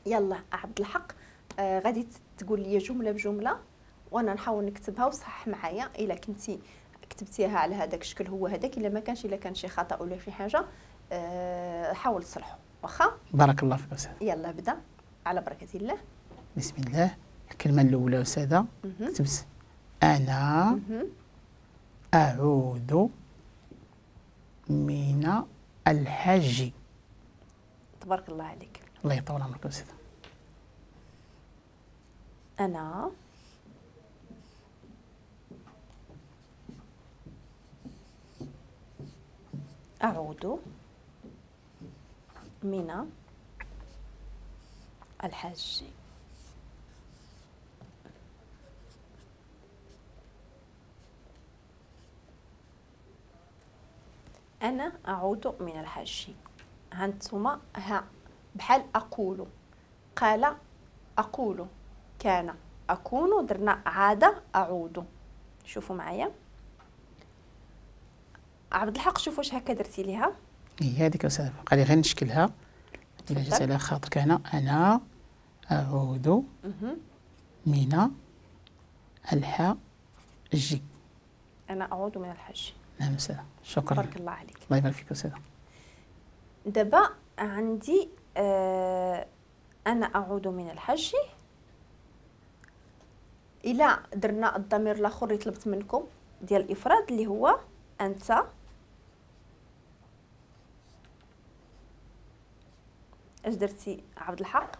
يلا عبد الحق، غادي تقول لي جملة بجملة وانا نحاول نكتبها وصح معايا. الا كنتي كتبتيها على هذاك الشكل هو هذاك، الا ما كانش، الا كان شي خطا ولا شي حاجة حاول تصلحه. واخا؟ بارك الله فيك استاذ. يلا بدا على بركة الله. بسم الله. الكلمة الاولى استاذه كتبت انا اعود من الحج. تبارك الله عليك. الله يطول عمرك استاذه. انا أعود من الحج. أنا أعود من الحج. هانتوما ها بحال أقول، قال أقول، كان أكون، درنا عادة أعود. شوفوا معايا عبد الحق، شوف واش هكا درتي ليها. هي هذيك أستاذ، بقى لي غير نشكلها إلا جات على خاطرك. هنا أنا أعود من الحج. أنا أعود من الحج. نعم أستاذ، شكرا. بارك الله عليك. الله يبارك فيك أستاذ. دابا عندي أنا أعود من الحج. إلا درنا الضمير الآخر اللي طلبت منكم ديال الإفراد اللي هو أنت، اش درتي عبد الحق؟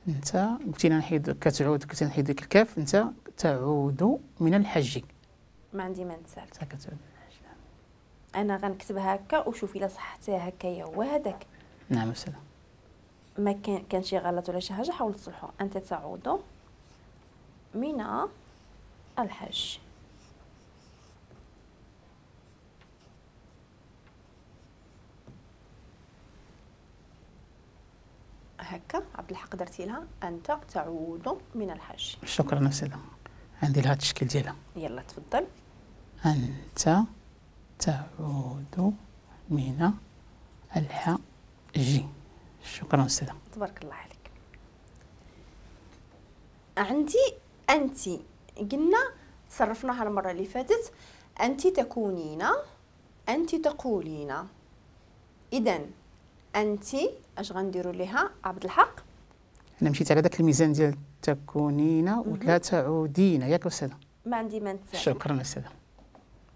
أنت قلتي لنا نحيد كتعود، قلتي نحيد ديك الكاف، أنت تعود من الحج. ما عندي ما نسال. أنت كتعود من الحج. أنا غنكتبها هكا وشوفي إلا صححتيها هكايا هو هذاك. نعم أستاذ. ما كان شي غلط ولا شي حاجة حاول تصلحو. أنت تعود من الحج. هكا عبد الحق درتي لها أنت تعود من الحج. شكرا أستاذة. عندي لها التشكيل ديالها. يلا تفضل. أنت تعود من الحج. شكرا أستاذة. تبارك الله عليك. عندي أنت، قلنا صرفناها المرة اللي فاتت، أنت تكونين، أنت تقولين. إذن أنت اش غنديروا ليها عبد الحق؟ أنا مشيت على داك الميزان ديال تكونين ولا تعودين، ياك أستاذة؟ ما عندي ما نتسال. شكرا أستاذة.